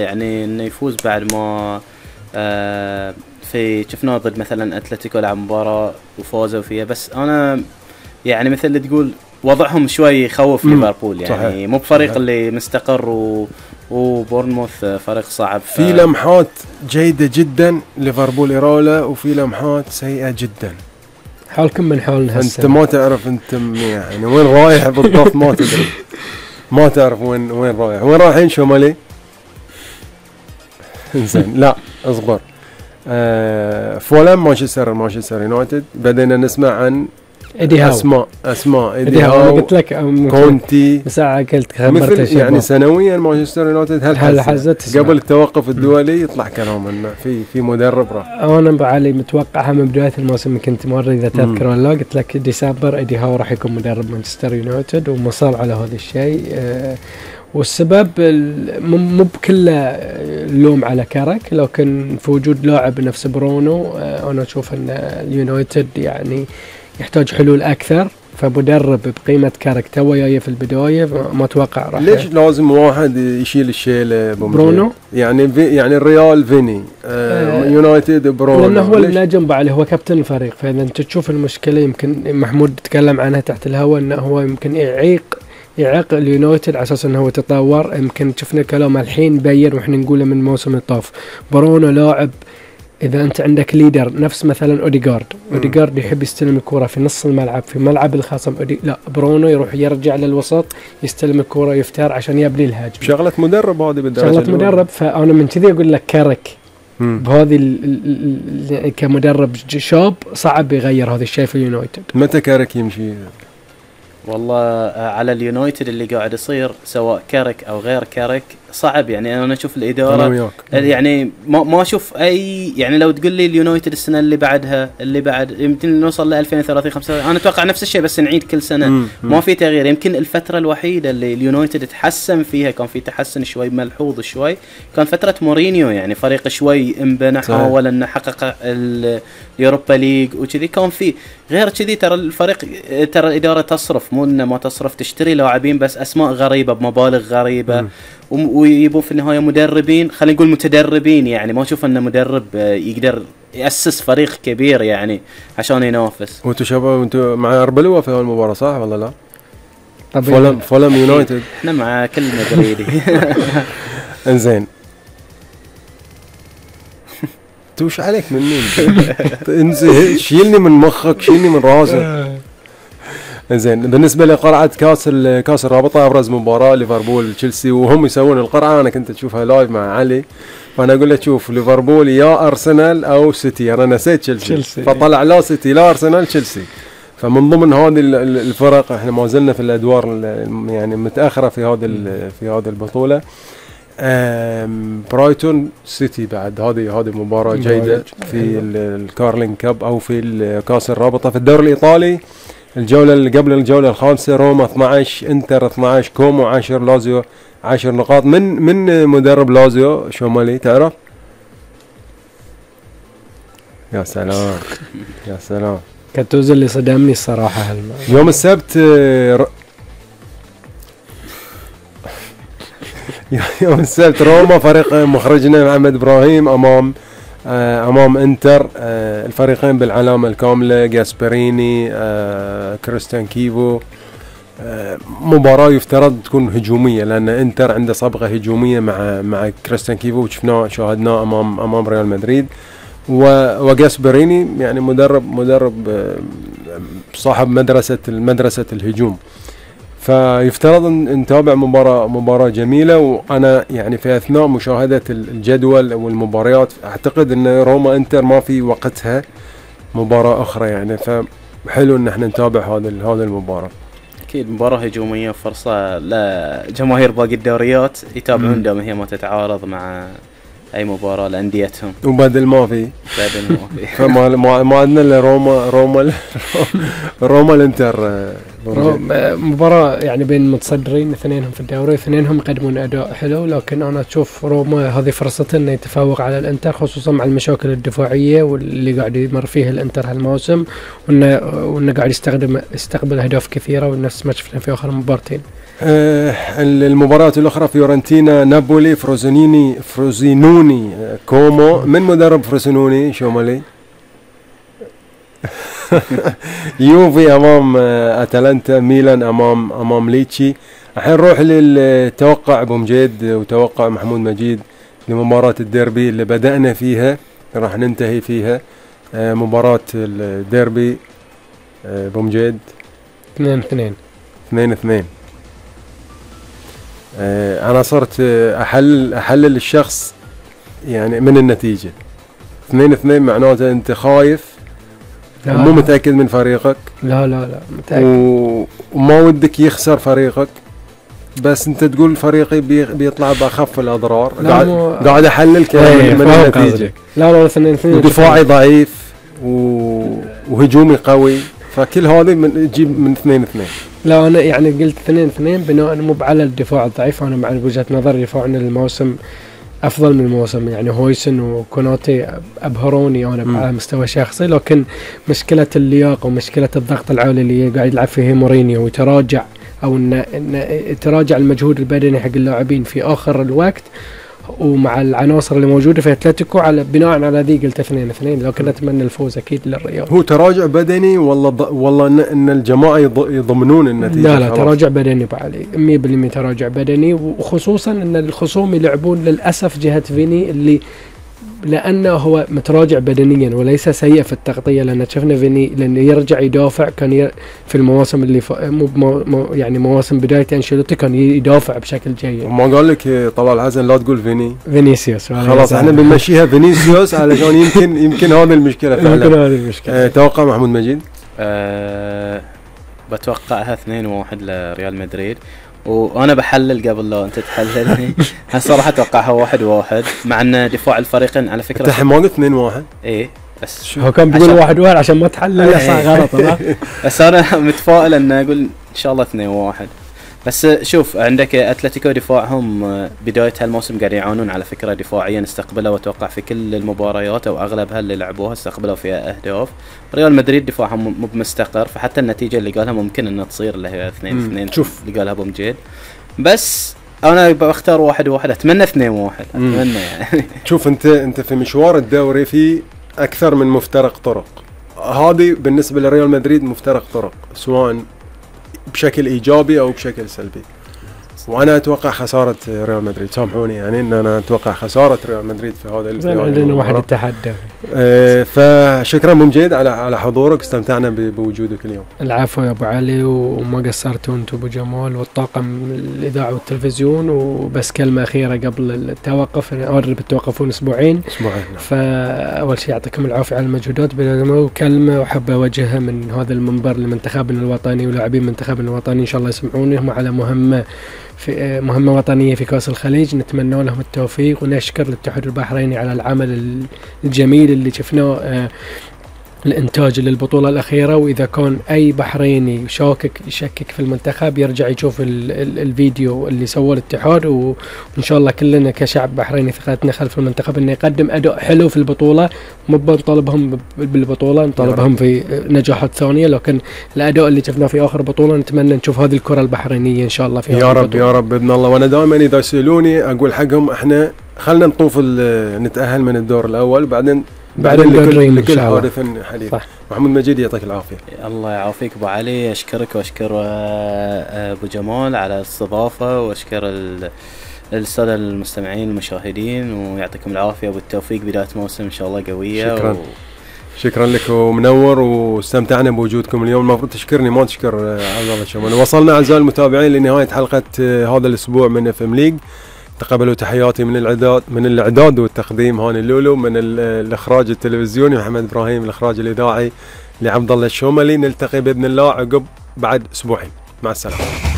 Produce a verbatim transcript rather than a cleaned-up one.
يعني انه يفوز بعد ما آه في شفناه ضد مثلا اتلتيكو لعب مباراة وفازوا فيها. بس انا يعني مثل اللي تقول وضعهم شوي يخوف ليفربول يعني صحيح. مو بفريق صحيح. اللي مستقر و وبورنموث فريق صعب. ف... في لمحات جيدة جدا ليفربول إيراولا وفي لمحات سيئة جدا. حالكم من حالنا هسه. انت ما تعرف انت يعني وين رايح بالضبط ما تدري. ما تعرف وين وين رايح. وين رايحين شمالي؟ انزين لا اصبر. آه فولام مانشستر مانشستر يونايتد. بدينا نسمع عن إيدي هاو. اسماء اسماء إيدي هاو. انا قلت لك كونتي ساعه قلت خبرت يعني سنويا مانشستر يونايتد هل حزت قبل التوقف الدولي يطلع كلام انه في في مدرب راح. انا بعلي متوقعها من بدايه الموسم كنت مره اذا تذكر ولا لا قلت لك ديسمبر إيدي هاو راح يكون مدرب مانشستر يونايتد ومصر على هذا الشيء. أه والسبب مو بكله اللوم على كارك لكن في وجود لاعب نفس برونو. أه انا اشوف ان اليونايتد يعني يحتاج حلول اكثر. فمدرب بقيمه كارك تو جاي في البدايه ما اتوقع راح. ليش لازم واحد يشيل الشيله برونو؟ يعني في يعني الريال فيني آه يونايتد برونو لانه هو النجم بعد هو كابتن الفريق. فاذا انت تشوف المشكله يمكن محمود تكلم عنها تحت الهواء انه هو يمكن يعيق يعيق اليونايتد على اساس انه هو تطور. يمكن شفنا كلامه الحين بين واحنا نقوله من موسم الطاف. برونو لاعب إذا أنت عندك ليدر نفس مثلا أوديغارد أوديغارد يحب يستلم الكرة في نص الملعب في ملعب الخصم. لا برونو يروح يرجع للوسط يستلم الكرة يفتر عشان يبني الهجمة. شغلة مدرب هذه بالدرجة شغلة مدرب. فأنا من كذي أقول لك كارك بهذه ال ال كمدرب شاب صعب يغير هذا الشيء في اليونايتد. متى كارك يمشي؟ والله على اليونايتد اللي قاعد يصير سواء كارك او غير كارك صعب. يعني انا اشوف الاداره يعني ما ما اشوف اي يعني لو تقول لي اليونايتد السنه اللي بعدها اللي بعد يمكن نوصل ل ألفين وثلاثين خمسة انا اتوقع نفس الشيء بس نعيد كل سنه. مم. ما في تغيير. يمكن الفتره الوحيده اللي اليونايتد تحسن فيها كان في تحسن شوي ملحوظ شوي كان فتره مورينيو. يعني فريق شوي انبنى حاول انه حقق اليوروبا ليج وكذي كان في. غير كذي ترى الفريق ترى الاداره تصرف مو انه ما تصرف تشتري لاعبين بس اسماء غريبه بمبالغ غريبه. مم. ويبون في النهايه مدربين خلينا نقول متدربين. يعني ما اشوف انه مدرب يقدر ياسس فريق كبير يعني عشان ينافس. وانتم شباب انتم مع اربلوا في المباراه صح ولا لا؟ فولم فولم يونايتد احنا مع كل مدريدي. انزين توش عليك مني انزين شيلني من مخك شيلني من راسك. زين بالنسبه لقرعه كاس كاس الرابطه ابرز مباراه ليفربول تشيلسي وهم يسوون القرعه. انا كنت اشوفها لايف مع علي فانا اقول له شوف ليفربول يا ارسنال او سيتي. انا نسيت تشيلسي فطلع لا سيتي لا ارسنال تشيلسي. فمن ضمن هذه الفرق احنا ما زلنا في الادوار يعني متاخره في هذه في هذه البطوله. برايتون سيتي بعد هذه هذه مباراه جيده في الكارلين كاب او في كاس الرابطه. في الدوري الايطالي الجولة اللي قبل الجولة الخامسة روما اثنا عشر انتر اثنا عشر كومو عشرة لازيو عشر نقاط. من من مدرب لازيو شومالي تعرف؟ يا سلام يا سلام كاتوزو اللي صدمني الصراحة هالما. يوم السبت ر... يوم السبت روما فريق مخرجنا محمد إبراهيم أمام امام انتر. الفريقين بالعلامه الكامله جاسبريني كريستيان كيفو. مباراه يفترض تكون هجوميه لان انتر عنده صبغه هجوميه مع مع كريستيان كيفو وشفناه شاهدناه امام امام ريال مدريد. وجاسبريني يعني مدرب مدرب صاحب مدرسه المدرسه الهجوم. فيفترض ان نتابع مباراه مباراه جميله. وانا يعني في اثناء مشاهده الجدول والمباريات اعتقد ان روما انتر ما في وقتها مباراه اخرى يعني. فحلو ان احنا نتابع هذا هذا المباراه. اكيد مباراه هجوميه فرصه لجماهير باقي الدوريات يتابعون دام هي ما تتعارض مع اي مباراه لانديتهم. وبدل ما في بدل ما في فما ما عندنا الا روما روما روما الانتر. مباراه يعني بين متصدرين اثنينهم في الدوري اثنينهم يقدمون اداء حلو. لكن انا اشوف روما هذه فرصته انه يتفوق على الانتر خصوصا مع المشاكل الدفاعيه واللي قاعد يمر فيها الانتر هالموسم وانه وانه قاعد يستخدم يستقبل اهداف كثيره ونفس ما شفنا في اخر مباراتين. آه المباراة الأخرى فيورنتينا نابولي فروزينيني فروزينوني آه كومو. من مدرب فروزينوني شومالي؟ يوفي أمام آه أتلانتا، ميلان أمام أمام ليتشي. الحين نروح للتوقع أبو مجيد وتوقع محمود مجيد لمباراة الديربي اللي بدأنا فيها راح ننتهي فيها. آه مباراة الديربي آه أبو مجيد. اثنين اثنين اثنين اثنين. آه أنا صرت أحلل أحلل الشخص يعني من النتيجة. اثنين اثنين معناته أنت خايف ومو متأكد من فريقك. لا لا لا متأكد و... وما ودك يخسر فريقك، بس أنت تقول فريقي بي... بيطلع بأخف الأضرار. قاعد مو... قاعد أحلل كلام من النتيجة. لا لا اثنين اثنين. ودفاعي ضعيف و... وهجومي قوي، فكل هذه من تجيب من اثنين اثنين. لا أنا يعني قلت اثنين اثنين بناء مو على الدفاع الضعيف. أنا مع وجهة نظري دفاعنا الموسم أفضل من الموسم، يعني هويسن وكوناتي أبهروني أنا على مستوى شخصي، لكن مشكلة اللياقة ومشكلة الضغط العالي اللي قاعد يلعب فيه مورينيو ويتراجع أو إن, إن يتراجع المجهود البدني حق اللاعبين في آخر الوقت، ومع العناصر اللي موجودة في أتلتيكو على بناء على ذي قلت اثنين اثنين، لكن أتمنى الفوز أكيد للريال. هو تراجع بدني ولا ض... ولا إن, إن الجماعة يضمنون النتيجة؟ لا لا خلاص. تراجع بدني بعلي مية بالمية تراجع بدني، وخصوصا إن الخصوم يلعبون للأسف جهة فيني اللي لأنه هو متراجع بدنيا وليس سيء في التغطية، لأن شفنا فيني لأنه يرجع يدافع كان ي... في المواسم اللي ف... مو مو يعني مواسم بداية أنشيلوتي كان يدافع بشكل جيد. ما قال لك طلال الحسن لا تقول فيني فينيسيوس؟ خلاص احنا بنمشيها فينيسيوس علشان يمكن يمكن هذه المشكلة فعلا. يمكن هذه المشكلة. أه توقع محمود مجيد. أه بتوقعها اثنين واحد لريال مدريد، وانا بحلل قبل لو انت تحللني. صراحه اتوقعها واحد واحد، مع ان دفاع الفريقين على فكره انت ما قلت اثنين واحد. ايه بس هو كان بيقول واحد واحد عشان ما تحلل صح غلط. لا بس انا متفائل ان اقول ان شاء الله اثنين واحد. بس شوف عندك اتلتيكو دفاعهم بدايه هالموسم قاعد يعانون على فكره دفاعيا، استقبلوا واتوقع في كل المباريات او اغلبها اللي لعبوها استقبلوا فيها اهداف. ريال مدريد دفاعهم مو بمستقر، فحتى النتيجه اللي قالها ممكن انها تصير اللي هي اثنين اثنين شوف اللي قالها ابو مجيد. بس انا بختار واحد واحد، اتمنى اثنين واحد اتمنى يعني. شوف انت انت في مشوار الدوري في اكثر من مفترق طرق، هذه بالنسبه لريال مدريد مفترق طرق سواء بشكل ايجابي او بشكل سلبي، وانا اتوقع خساره ريال مدريد. سامحوني يعني ان انا اتوقع خساره ريال مدريد في هذا الفيديو. عندنا واحد يتحدى. اه فشكرا ابو مجيد على على حضورك، استمتعنا بوجودك اليوم. العفو يا ابو علي، وما قصرتوا انتم ابو جمال والطاقم الاذاعه والتلفزيون. وبس كلمه اخيره قبل التوقف، اقرب التوقفون اسبوعين اسبوعين فاول شيء يعطيكم العافيه على المجهودات، وكلمه احب اوجهها من هذا المنبر لمنتخبنا الوطني ولاعبين منتخبنا الوطني، ان شاء الله يسمعوني، هم على مهمه في مهمة وطنية في كأس الخليج، نتمنى لهم التوفيق ونشكر الاتحاد البحريني على العمل الجميل اللي شفناه الانتاج للبطولة الأخيرة. وإذا كان أي بحريني شاكك يشكك في المنتخب يرجع يشوف ال ال الفيديو اللي سواه الاتحاد، وإن شاء الله كلنا كشعب بحريني ثقتنا خلف المنتخب إنه يقدم أداء حلو في البطولة. مو بنطالبهم بالبطولة، نطالبهم في نجاحات ثانية، لكن الأداء اللي شفناه في آخر بطولة نتمنى نشوف هذه الكرة البحرينية إن شاء الله في يا رب البطولة. يا رب بإذن الله. وأنا دائما إذا يسألوني أقول حقهم إحنا خلنا نطوف نتأهل من الدور الأول، بعدين بعدين لكل لكل حادث حديث. محمود مجيد يعطيك العافيه. الله يعافيك ابو علي، اشكرك واشكر ابو جمال على الاستضافه، واشكر الساده المستمعين المشاهدين، ويعطيكم العافيه وبالتوفيق بدايه موسم ان شاء الله قويه. شكرا و... شكرا لك ومنور، واستمتعنا بوجودكم اليوم. المفروض تشكرني ما تشكر عبد الله الشمال. وصلنا اعزائي المتابعين لنهايه حلقه هذا الاسبوع من اف ام ليج. تقبلوا تحياتي من الاعداد من الاعداد والتقديم هاني اللولو، من الاخراج التلفزيوني محمد ابراهيم، الاخراج الاذاعي لعبد الله الشوملي. نلتقي باذن الله عقب بعد اسبوعين. مع السلامه.